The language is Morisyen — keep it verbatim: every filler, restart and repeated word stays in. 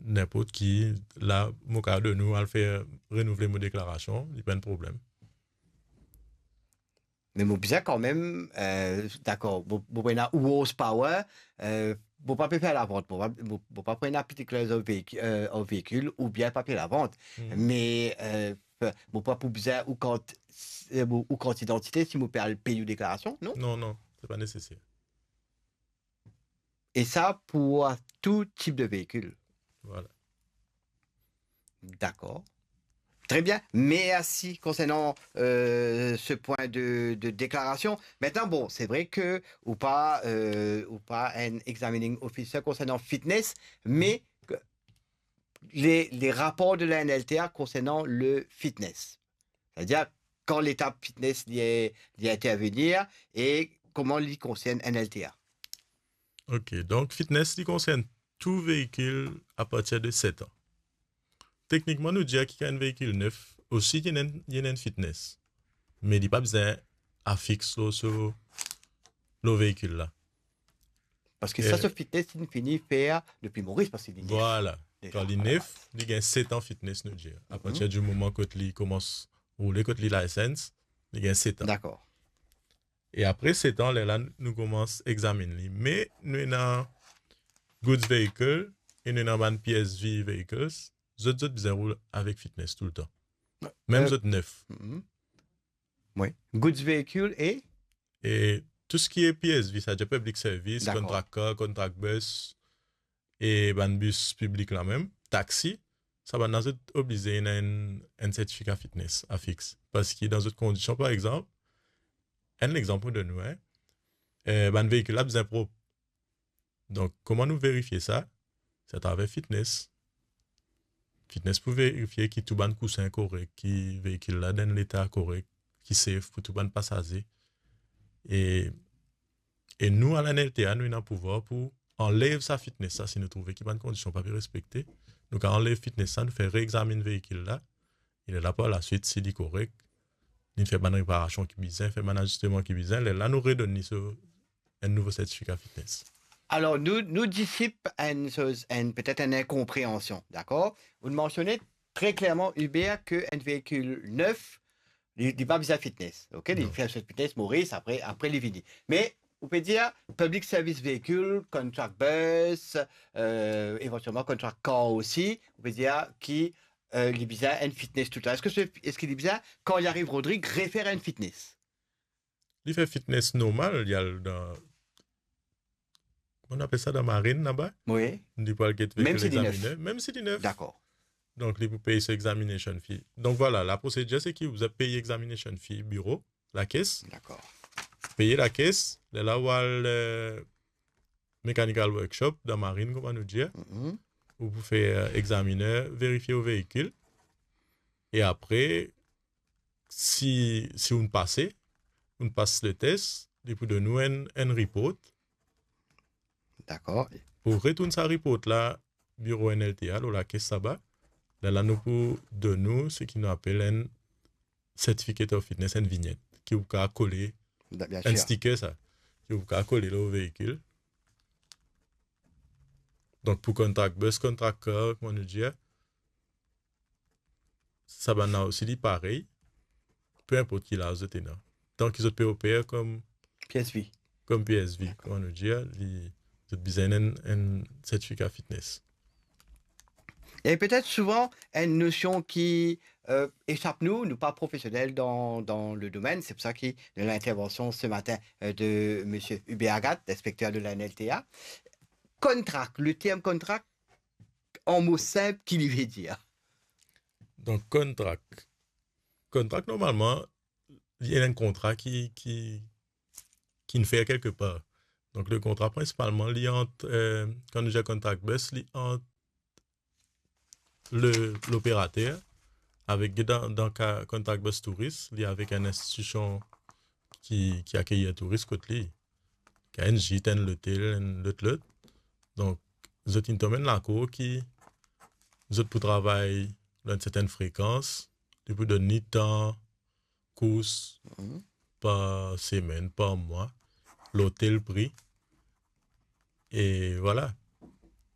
ninport ki, la, mo kapav donn ou al fer renouvle mo deklarasion, li pa enn problem. Me mo bizin kanmem, euh, dakor, mo, mo pou ena ou horsepower, euh, mo pa pe fer lavant, mo pa, mo, mo pa pou ena particulars of vehicle, euh, of vehicle oubien papie lavant. Hmm. Me, euh, mo pa pou bizin ou kart, euh, ou kart idantite si mo pe al pey ou deklarasion, non? Non, non, se pa neseser. E sa pou tou tip de veikil. Vwala. Dakor. Tre bien. Mersi konsernan, euh, se pwin de, de deklarasion. Aster, bon, se vre ke ou pa, euh, ou pa enn examining officer konsernan fitness, me ke le, le rapor de la N L T A konsernan le fitness. Savedir, kan letap fitness li, li intervenir e kouma li konsern N L T A? Ok, donk fitness li konsern tou veikil apartir de set an. Teknikman, nou dir ki kan enn veikil nef osi, li ena enn, li ena enn fitness. Me li pa bizin afix lor so, lor veikil la. Parski sa, eh, so fitness, li fini fer depi Moris, parski li nef. Vwala. Deza, kan li nef, li gagn set an fitness, nou dir. Apartir di moman kot li koumans roule, kot li license, li gagn set an. Dakor. E apre set an, lerla nou koumans examine li. Me nou ena goods vehicle e nou ena bann P S V vehicles, zot, zot bizin roul avek fitness toultan. Mem, eh, zot nef. Mhm. Wi. Goods vehicle e? E tou seki P S V, savedir public service, dakor, contract car, contract bus, e bann bis piblik la mem, taxi, sa bann la zot oblize ena enn, enn sertifika fitness afix. Parski dan zot kondision, par exanp, enn lexanp mo donn ou, hein, eh, bann veikil la bizin prop. Donk, kouma nou verifie sa? Se atraver fitness. Fitness pou verifie ki tou bann kousin korek, ki veikil la dan enn leta korek, ki safe pou tou bann pasaze. E, e nou, a la N L T A, nou ena pouvwar pou anlev sa fitness la, si nou trouve ki bann kondision pa pe respekte. Nou kav anlev fitness la, nou fer reexaminn veikil la, e lerla par laswit, si li korek, nou fer bann reparasion ki bizin, fer bann azisteman ki bizin, lerla nou redonn li so enn nouvo sertifika fitness. Alor, nou, nou disip enn soz, enn, petet enn inkonpreansion, dakor? Ou mansione tre klerman, Hubert, ke enn veikil nef, li, li pa bizin fitness, ok? Li, non, fer so fitness Moris, apre, apre li vini. Me, ou pe dir, public service vehicle, contract bus, euh, evantielman contract car osi, ou pe dir ki, euh, li bizin enn fitness toultan. Eski se, eski li bizin, kan li ariv Rodrig, refer enn fitness? Li fer fitness normal, li al dan, kouma nou apel sa, dan marine laba? Wi. Li pou al get veikil examiner, mem si li nef. Mem si li nef. Dakor. Donk, li pou pey so examination fee. Donk, vwala, laprosedir, se ki ou bizin pey examination fee biro, lakes. Dakor. Pey lakes, lerla ou al, euh, mechanical workshop, dan marine, kouma nou dir. Mhm. Ou pou fer, euh, examiner verifie ou veikil. E apre, si, si ou pase, ou pas letes, li pou donn ou enn, enn report. Dakor. Pou retourn sa report la, biro N L T A, lor lakes laba, lerla nou pou donn ou seki nou apel enn certificate of fitness, enn vinyet, ki ou kav kole, da-, bien enn sir, sticker sa, ki ou kav kole lor veikil. Donk, pou contract bus, contract car, kouma nou dir, sa bann la osi, li parey, pe inport ki laz zot ena. Tan ki zot pe oper kom P S V. Kom P S V, dakor, kouma nou dir, li, zot bizin enn, enn sertifika fitness. E petet souvan, enn nosion ki, euh, esap nou, nou pa profesionel dan, dan le domenn, se pou sa ki, dan lintervansion se matin, euh, de misie Hubert Agathe, inspekter de la N L T A. Contract, le term contract, an mo sinp, ki li ve dir? Donk, contract. Contract, normalman, li enn kontra ki, ki, ki'nn fer kelkepar. Donk, le kontra, prinsipalman, li ant, euh, kan nou dir contract bus, li ant le, loperater, avek, dan, dan ka contract bus touris, li avek enn institision ki, ki akeyir touris kot li. Ki enn gîte, enn lotel, enn lot, lot. Donk, zot inn tom enn lakor ki zot pou travay lor enn sertenn frekans, li pou donn li tan kours, mhm, par semenn, par mwa, lor tel pri. E vwala.